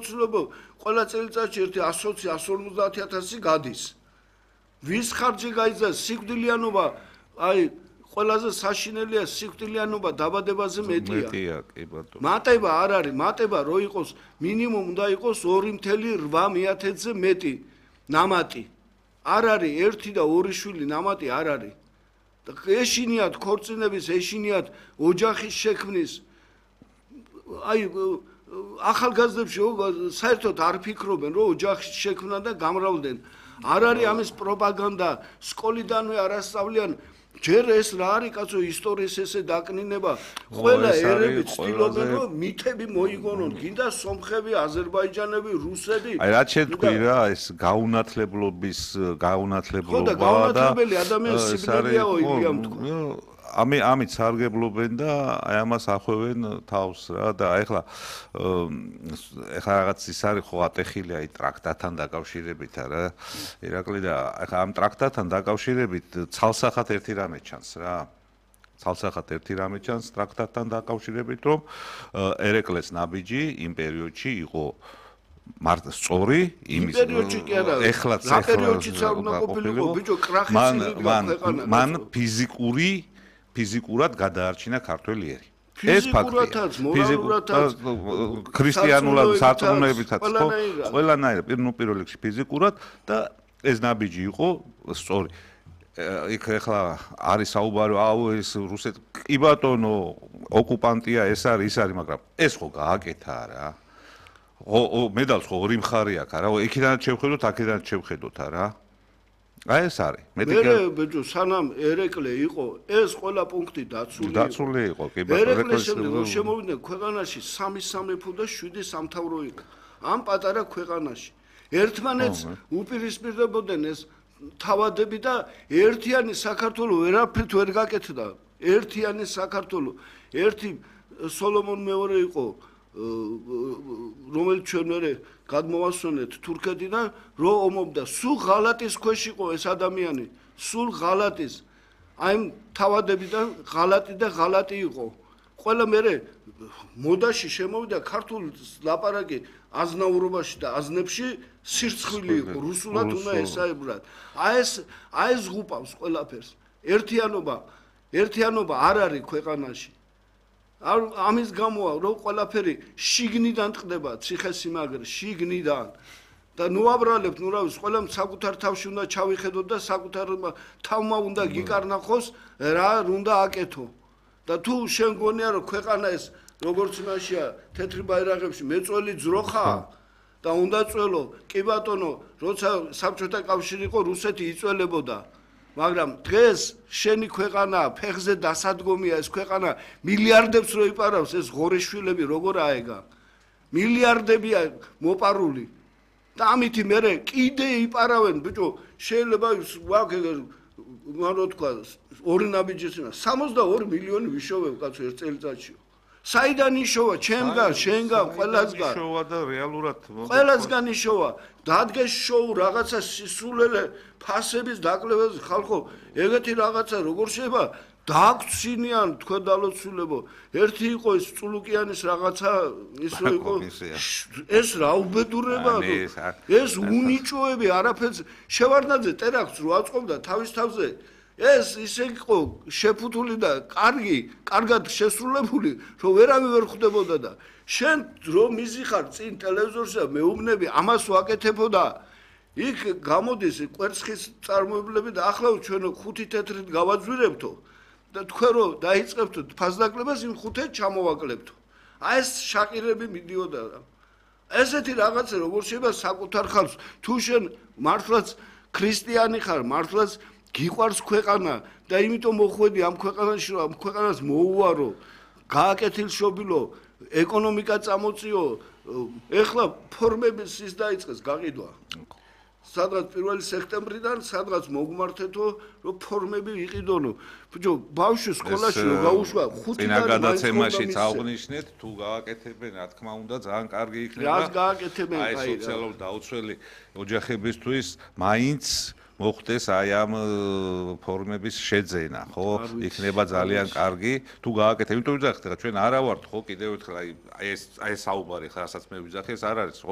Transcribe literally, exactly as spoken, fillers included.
ცნობო ყველა წელიწადში ერთი ათი ათი ორმოცდაათი ათასი გადის. ვის ხარჯი გაიზარდა სიკვდილიანობა, აი ყველაზე საშინელია სიკვდილიანობა დაბადებაზე მეტია. მეტია, კი ბატონო. მატება არ არის, მატება რო იყოს მინიმუმ უნდა იყოს ორი ათი ათასზე მეტი ნამატი. არ არის ერთი და ორი შვილი ნამატი არ არის. და ეშინიათ ქორწინების, ეშინიათ ოჯახის შექმნის. აი ახალგაზრდებში საერთოდ არ ფიქრობენ რომ ოჯახის შექმნა და გამრავლდნენ. არ არის ამის პროპაგანდა, სკოლიდანვე არ ასწავლიან. ჯერ ეს რა არის კაცო ისტორიის ესე დაკნინება. ყველა ერები ცდილობენ რომ მითები მოიგონონ. გინდა სომხები, აზერბაიჯანები, რუსები. აი რაც შეთქვი რა ეს გაუნათლებლობის გაუნათლებლობა და ხო და გაუნათლებელი ადამიანის სიბნელეაო იგივე თქვა. ამი ამით სარგებლობენ და აი ამას ახვევენ თავს რა და ეხლა ეხლა რაღაც ის არის ხო ატეხილი აი ტრაქტატთან დაკავშირებით რა ირაკლი და ეხლა ამ ტრაქტატთან დაკავშირებით ცალსახად ერთი რამე ჩანს რა ცალსახად ერთი რამე ჩანს ტრაქტატთან დაკავშირებით რომ ერეკლეს ნაბიჯი იმ პერიოდში იყო მართ სწორი იმის ეხლაც ეხლა მან ფიზიკური ფიზიკურად გადაარჩინა ქართველი ერი. ეს ფაქტია. ფიზიკურადაც, ქრისტიანულად, სარწმუნოებითაც, ხო? ყველანაირად, ნუ პირველ რიგში ფიზიკურად და ეს ნაბიჯი იყო სწორი. იქ ეხლა არის საუბარი, აუ ეს რუსეთ კი ბატონო, ოკუპანტია, ეს არის, ის არის, მაგრამ ეს ხო გააკეთა რა. ხო, მედალს ხო ორი მხარე აქვს რა. იქიდანაც შევხედოთ, აქედანაც შევხედოთ რა. აი ეს არის. მე ბეჭო სანამ ერეკლე იყო, ეს ყველა პუნქტი დაცული იყო. დაცული იყო, კი ბატონო. ერეკლეს შემდეგ რომ შემოვიდნენ ქვეყანაში სამი სამეფო და შვიდი სამთავრო იყო. ამ პატარა ქვეყანაში. ერთმანეთს უპირისპირდებოდნენ ეს თავადები და ერთიანი საქართველოს ვერაფრით ვერ გაკეთდა. ერთიანი საქართველოს. ერთი სოლომონ მეორე იყო რომელიც ჩვენ მერე გადმოვასვენეთ თურქეთიდან რო ომობდა სულ ღალატის ქვეშ იყო ეს ადამიანი სულ ღალატის აი თავადებიდან ღალატი და ღალატი იყო ყველა მერე მოდაში შემოვიდა ქართულ ლაპარაკი აზნაურობაში და აზნებში სირცხვილი იყო რუსულად უნდა ესაებრათ აი ეს აი ეს ღუპავს ყველაფერს ერთიანობა ერთიანობა არ არის ქვეყანაში ამის გამოა რომ ყველაფერი შიგნიდან ტყდება ციხესიმაგრე შიგნიდან და ნუ აბრალებთ ნუ რა ვიცი ყველამ საკუთარ თავში უნდა ჩავიხედოთ და საკუთარ თავმა უნდა გიკარნახოს რა უნდა აკეთო და თუ შენ გონია რომ ქვეყანა ეს როგორც იმაშია თეთრი ბაირაღებში მეწველი ძროხა და უნდა წველო კი ბატონო როცა საბჭოთა კავშირი იყო რუსეთი იწველებოდა მაგრამ დღეს შენი ქვეყანა ფეხზე დასადგომია ეს ქვეყანა მილიარდებს რო იპარავს ეს ღორეშვილები როგორ აეგა მილიარდებია მოპარული და ამითი მერე კიდე იპარავენ ბიჭო შეიძლება რა თქვა ორი ნაბიჯისინა სამოცდაორი მილიონი ვიშოვებ კაცო ერთ წელიწადში საიდან იშოვა ჩემგან შენგან ყველასგან იშოვა და რეალურად ყველასგან იშოვა დადგეს შოუ რაღაცა სისულელე ფასების დაკლებას ხალხო ეგეთი რაღაცა როგორ შეიძლება დააქცინიან თქვენ დალოცულებო ერთი იყო ეს წულუკიანის რაღაცა ის რო იყო ეს რა უბედურებაა ეს უნიჭოები არაფერს შევარდნაძე ტერაქტს რო აწყობდა თავის თავზე ეს ისე იყო შეფუთული და კარგი, კარგად შესრულებული, რომ ვერავე ვერ ხვდებოდა და შენ რომ მიზიხარ წინ ტელევიზორში და მეუბნები ამას ვაკეთებოდა იქ გამოდის კვერცხის წარმოებლები და ახლა ჩვენ ხუთი თეთრით გავაძვირებთო და თქვენ რომ დაიწყებთო ფასდაკლებას იმ ხუთეთ ჩამოვაკლებთო აი ეს შაყირები მიდიოდა ესეთი რაღაცა როგორ შეიძლება საკუთარ ხალხს თუ შენ მართლაც ქრისტიანი ხარ მართლაც გიყვარს ქვეყანა და იმიტომ მოხვედი ამ ქვეყანაში რომ ამ ქვეყანას მოუარო გააკეთილშობილო ეკონომიკა წამოწიო ეხლა ფორმების ის დაიწყეს გაყიდვა სადღაც პირველი სექტემბრიდან სადღაც მოგმართეთო რომ ფორმები იყიდონო ბიჭო ბავშვი სკოლაში რო გაუშვა ხუთიდან წინა გადაცემაშიც აღნიშნეთ თუ გააკეთებენ რა თქმა უნდა ძალიან კარგი იქნება რას გააკეთებენ აი სოციალურ დაუცველი ოჯახებისთვის მაინც მოხდეს აი ამ ფორმების შეძენა, ხო? იქნება ძალიან კარგი, თუ გააკეთებ, იმიტომ ვიძახეთ, ხა ჩვენ არა ვართ, ხო, კიდევ ერთხელ აი ეს აი ეს საუბარი ხა, რასაც მე ვიძახე, ეს არ არის, ხო?